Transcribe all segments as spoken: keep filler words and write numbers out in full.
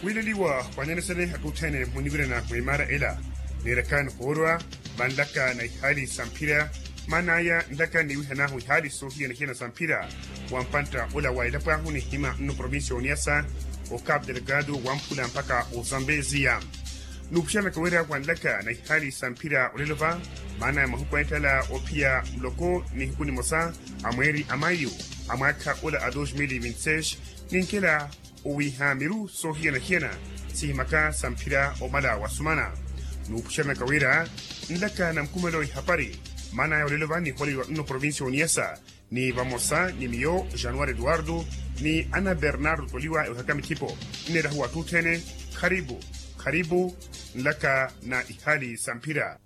Wiileliwa wanyanisene aka othene muniwirana mwimaara ela. Neerakani hoorwa vanlaka na ihaali sa mphira. Maan'aya nlaka niwihan'ahu ihaali soohiyana-hiyana sa mphira wa mpantta ola wa elapo ahu nihima nno provincia oniyasa, o capu delgado wamphula mpakha ozambeziya. Nuupuxeranaka wira wanlaka na ihaali sa mphira olelo va, maan'aya mahuku anettala ophiya muloko nihiku nimosa a mweeri a mayu a mwaakha ola a dos mil e vinti seis, ninkela owiiha miru soohiyana-hiyana sihimaka sa mphira omala wa sumana. Nuupuxeranaka wira nlaka na mukumelo ihapari, maan'aya olelo va nihooliwa nno provincia oniyasa, ni vamosa ni miyo januari eduardo ni ana bernardo toliwa ewehaka mithipo. Nneerahuwa atthu othene kharipu, kharipu nlaka na ihaali sa mphira.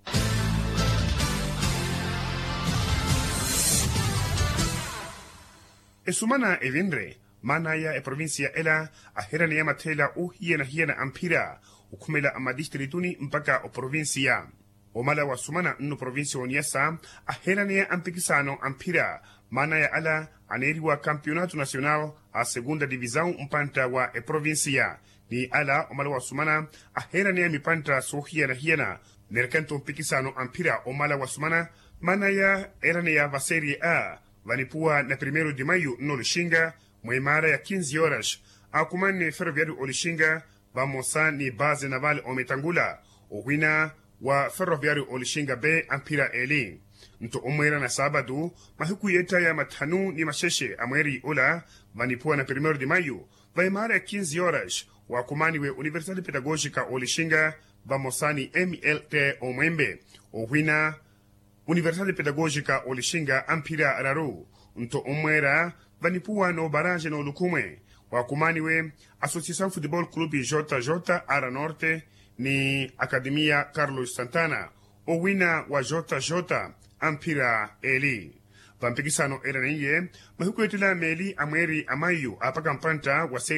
Esumana evinre, maan'aya eprovincia ela aheeraneya matheela oohiyana-hiyana a mphira okhumela a matistirituni mpakha oprovincia. Omala wa sumana nno provincia oniyasa aheeraneya a mpikisano a mphira, maan'aya ala aneeriwa campeonato nacional a segunda divisao mpantta wa eprovincia. Ni ala omala wa sumana aheeraneya mipantta soohiyana-hiyana neerekanto mpikisano a mphira omala wa sumana. Maan'aya eeraneya va serie a vanipuwa na primeiro de maio nno olixinga, mwimaara ya kinzi horas akumanne ferroviario olixinga vamosa ni base naval ometangula, owina wa ferroviario olixinga be a mphira eli. Nto omweera na saapatu mahiku yeettaya mathanu ni maxexe a mweeri ola vanipuwa na primeiro de maio, va imaara ya kinzi horas wakumaniwe universidade pedagogica olixinga vamosa ni mlt omwembe, owina universidade pedagogica olixinga a mphira araru. Nto omweera vanipuwa n'obaranje n'olukhumwe wakumaniwe associação futebol clube jj ara norte ni academia carlos santana, owina wa jj a mphira eli. Vampikisano eraneiye mahiku ettela meeli a mweeri a maio apaka mpantta wa serie